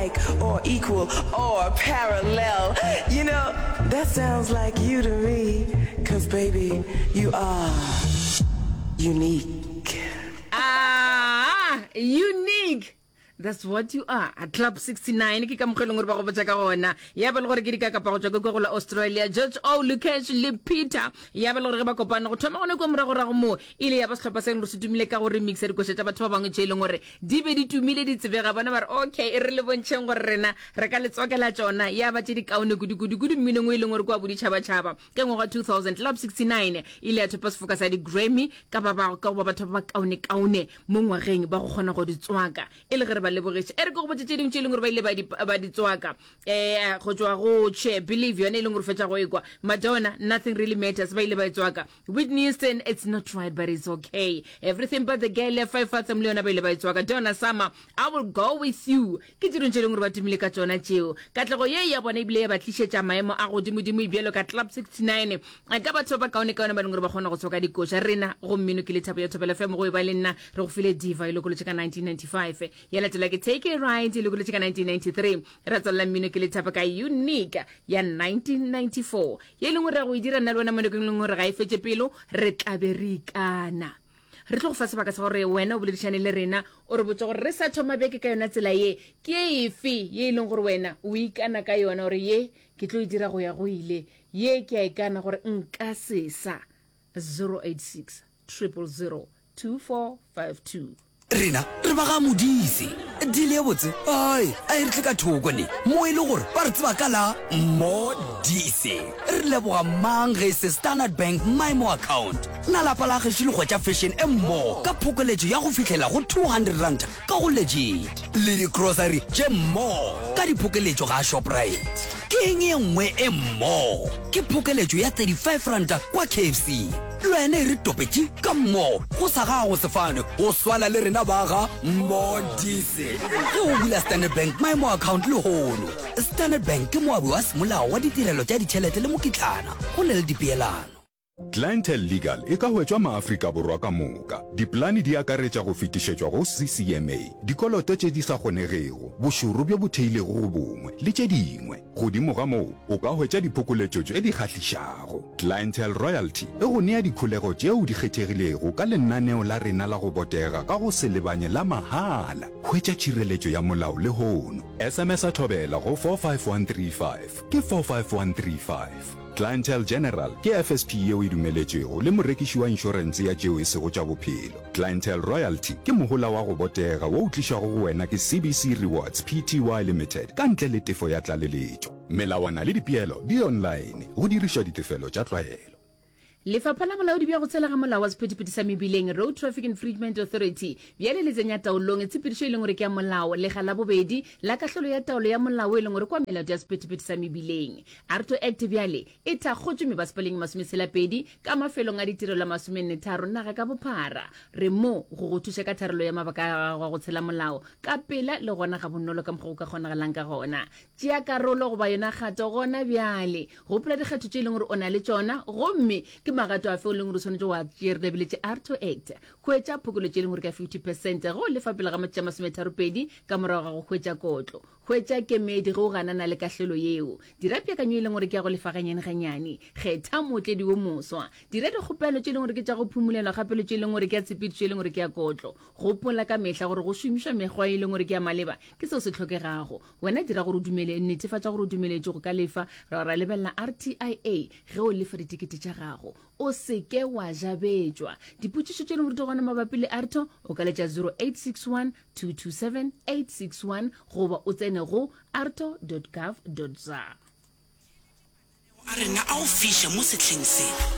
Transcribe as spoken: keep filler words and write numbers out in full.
Like or equal or parallel. You know, that sounds like you to me. Cause baby, you are unique. Ah, unique. That's what you are. Club sixty-nine ke ka mokgwa e leng gore ba go botša ka gona. Ya ba le gore ke dikakapa go tšwa ke kwa go la Australia. George O, Lucas le Peter. Ya ba le gore ge ba kopane go thoma gone kwa moragorago moo e ile ya ba sehlopha se e leng gore se tumile ka go remixa dikoša tša batho ba bangwe tše e leng gore di be di tumile di tsebega. Bona ba re okay e re le bontšheng gore rena re ka le tswakela tšona ya ba tše di kaone kudu-kudu-kudu mminong o e leng gore ke wa boditšhabatšhaba. Ka ngwaga wa two thousand Club sixty-nine e ile ya thopa sefoka sa di-Grammy ka ba ba ka go ba batho ba ba kaone-kaone mo ngwageng ba go kgona go di tswaka e le ge re ba lebogiša. E re ke go botše tše dingwe tše e leng gore ba ile ba di, ba di tswaka um go tšwa go Che Believe yone e leng gore fetša go ekwa, Madonna Nothing Really Matters ba ile ba e tswaka, Whitney Houston It's Not Right But It's Okay, Everything But The Girl ya Five Fathom le yona ba ile ba e tswaka, Donna Summer I Will Go With You. Ke tše dingwe tše e leng gore ba tumile ka tšona tšeo. Katlego ye ya bona ebile ya ba tlišetša maemo a godimodimo bjalo ka Club sixty-nine ka batho ba bakaonekaone ba leng gore ba kgona go tswaka dikoša. Rena go mmino ke Lethabo ya Thobela F M go e ba le nna re go file Diva e lokolotše ka nineteen ninety-five, ya latela ke Take a Ride e lokolotše ka nineteen ninety-three, ra tswalela mmino ke Lethabo ka Unique ya nineteen ninety-four ye e leng gore ra go e dira nna le wena mo nakong e leng gore ga e fetše pelo re tlabe re ikana. Re tlo go fa sebaka sa gore wena o boledišane le rena o re botse gore re sa thoma beke ka yona tsela ye ke efe ye e leng gore wena o ikana ka yona gore ye ke tlo e dira go ya go ile, ye ke a ikana gore nka sesa. Zero eight six triple zero two four five two. Rena re ba ga Modise. Deal ye botse ai a e re tle ka thoko ne mo e le gore ba re tseba ka la Modise. Re leboga mang ge e se Standard Bank Maemo Account. Na lapa la gešo le hwetša fashion e mmogo ka phokoletšo ya go fihlela go two hundred rand ka go Legit le di-grocery tše mmogo ka diphokeletšo ga Shoprite. Ke eng ye nngwe e mmogo? Ke phokeletšo ya thirty-five rand kwa K F C. Le wena e re topetše ka mmogo go sa gago sefane go swana le rena ba ga Modise. Ge o bula Standard Bank Maemo Account lehono. Standard Bank ke moabi wa semolao wa ditirelo tša ditšhelete le mokitlana go na le dipeelano. Clientele Legal e ka hwetšwa maAfrika Borwa ka moka. Dipolane di akaretša go fetišetšwa go C C M A, dikoloto tše di sa kgonegego, bošoro bjo bo theilego go bongwe, le tše dingwe. Godimo ga moo, o ka hwetša diphokoletšo tše di kgahlišago. Clientele Royalty e go nea dikholego tšeo di kgethegilego ka lenaneo la rena la go botega ka go se lebanye la mahala. Hwetša tšhireletšo ya molao lehono. S M S a Thobela go four five one three five ke four five one three five. Clientele General ke F S P yeo e dumeletšwego le morekiši wa inšorense ya tšeo e sego tša bophelo. Clientele Royalty ke mohola wa go botega wo o tlišwago go wena ke C B C Rewards P T Y Limited ka ntle le tefo ya tlaleletšo. Melawana le dipeelo di online go dirišwa ditefelo tša tlwaelo. Lefapha la Bolaodi bja go Tshela ga Molao wa Sephethephethe sa Mebileng, Road Traffic Infringement Authority, bjale le tsenya taolong tshepedišo e leng gore ke ya molao lekga la bobedi la kahlolo ya taolo ya molao e leng gore kwa melato ya sephethephethe sa mebileng. AARTO Act bjale e thakgotšwe mebasepaleng e masometshela-pedi ka mafelong a ditirelo a masomenne-tharo naga ka bophara. Re mo go go thuša ka tharollo ya mabaka a gago a go tshela molao ka pela le gona gabonolo ka mokgwa go ka kgonagalang ka gona. Tšea karolo goba yona kgato gona bjale. Gopola dikgetho tše e leng gore o na le tšona gomme ke magato afe o leng gore o swanetše go a tšea. Re lebeletše AARTO Act. Hwetša phokoletšo e leng gore ka fifty percent ge o lefa pele ga matšatši a masometharopedi ka morago ga go hwetša kotlo. Hwetša kemedi ge o ganana le kahlolo yeo. Dira peakanyo e leng gore ke ya go lefa gannyane-gannyane. Kgetha mootledi wo moswa. Dira dikgopelo tše e leng gore ke tša go phumolelwa gape le tše e leng gore ke ya tshepedišo e leng gore ke ya kotlo. Gopola ka mehla gore go šomišwa mekgwa e leng gore ke ya maleba ke seo se hlokegago. Wena dira gore o dumele, netefatša gore o dumeletšwe go ka lefa, ra ra lebelela R T I A ge o lefa ditekete tša gago. O se ke wa jabetšwa. Dipotšišo tše leng gore di gona mabapi le AARTO, o ka letša zero eight six one, two two seven, eight six one goba o tsene go aarto dot gov dot za. A rena a go fiša mo sehleng se.